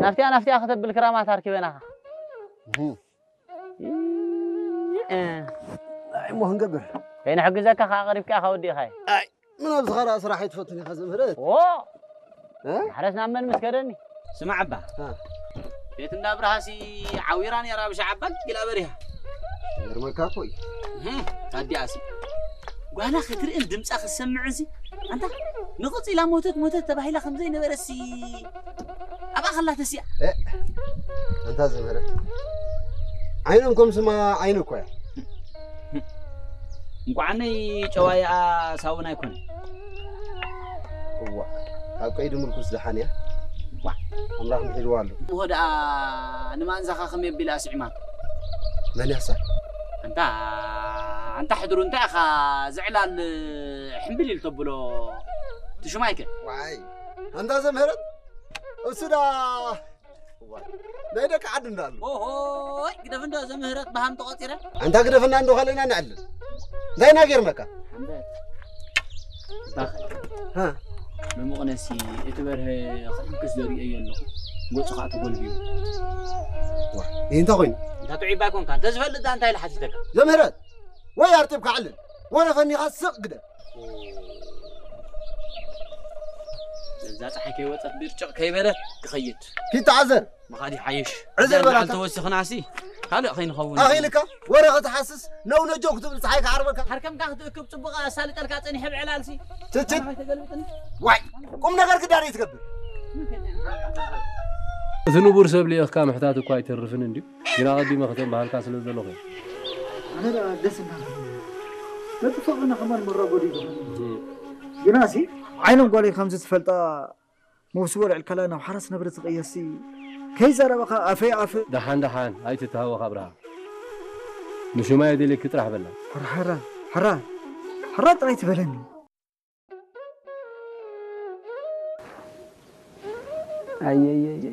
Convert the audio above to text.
ናፍቲኣ ናፍቲኣ ከተብል ክራማት ኣርኪበናኻ። እህ። እ። ኣይ፣ እሞ ክንገብር። ከይንሕግዘካ ከኣ ቀሪብካ ኢኻ ወዲእኻዮ። ኣይ፣ ምን ኣብዚ ኸራ ስራሕ ኣይትፈቱን ኢኻ ዘምህረት? ዎ! እ? ማሕረስ ናብ መን ምስ ከደኒ? ስማዕ እባ። እ። ቤት እንዳ ብርሃሲ ዓዊራ ነይራ ብሻዕ ኣባ ጊላ በሪሃ። ይገርመካ እኮ እዩ። እህ፣ ታዲኣሲ። ጓላ ክትርእን ድምጻ ክትሰምዕንሲ፣ ኣንታ ንቕጽ ኢላ ሞተት ሞተት ተባሂላ ከም ዘይነበረሲ ኣብኣ ከላ ተሲኣ። እ፣ ኣንታ ዘምህረት። ዓይኖም ከም ስማ ዓይኒ እኮ እያ። እንኳዓነይ ጨዋይኣ ሳውን ኣይኮነ። እዋ፣ ካብ ቀይዲ ምርኩስ ደሓን እያ። ዋ። ኣምላኽ ምሒድዋ ኣሎ። እሞ ደኣ ንማንዛኻ ከመይ ኣቢላ ስዒማቶ? መን ያሳ? ኣንታ፣ ኣንታ ሕድሩ እንታይ ኢኻ ዝዕላል ሕምብል ኢሉ ተብሎ ትሽማይከ? ዋይ፣ ኣንታ ዘምህረት፣ እሱ ዳ እዋ፣ ናይ ደቂ ዓዲ እንዳሉ። ኦሆይ፣ ግደፍ እንዶ ዘምህረት ብሃም ተቖጺረ። ኣንታ ግደፍና እንዶ ካልእና ንዕልል። እንታይ ኢና ጌርናካ? ሓምበት። ባኸ። ሃ? መሙቕነሲ እቲ በርሀ ክሕንክስ ዘርእዮ ኣለኹ። ገጹ ኸዓ ተጎልቢቡ። ዋ፣ ይህ እንታይ ኮይኑ? እንታ ጥዑይ ባይኮንካ፣ እንተ ዝፈልጥ ዳ እንታይ ኢለ ሓቲተካ? ዘምህረት፣ ወይ ኣርጢብካ ዕልል፣ ወረ ፈኒኻ ስቕ ግደፍ። እዛ ጸሓይ ከይወጸት ብርጭቕ ከይበለት ክኸይድ። ኪድ ተዓዘር። ምኻድ ይሓይሽ። ዕዘር እዛ በላታ። እንተወሲኽናሲ ካልእ ከይንኸውን። ኣኺልካ ወረ ክትሓስስ ነው ነጆ ክትብል ጸሓይ ክዓርበካ። ሃርከምካ ክትእክብ ጽቡቕ ኣሳልጠልካ ጸኒሐ ብዕላልሲ። ትችት። ኣባይ ተገልብጥኒ። ዋይ፣ ቁም ነገር ክዳን ይትገብር። እቲ ንቡር ሰብ ልኢኽካ ምሕታት እኳ ኣይተርፍን እንድዩ። ግና ኣቐዲመ ከተንበሃልካ ስለ ዘለኹ እየ። ኣነ ደኣ ደስ እናበለኒ። ነቲ ፍቕርና ከማን መራጎዲ ይኸውን። እህ። ግናሲ ዓይኖም ጓለይ ከምዚ ትፈልጣ መውስቦ ልዕልካላ ናብ ሓራስ ነብሪ ዝቕየሲ ከይዛረበኻ ኣፈይ ኣፍ። ደሓን ደሓን ኣይትተሃወኽ ኣብርሃ። ንሹማይ ኣደልየኪ ጥራሕ በላ። ሕራ፣ ሕራ፣ ሕራ፣ ሕራ ጥራይ ትበለኒ። ኣየየየየ።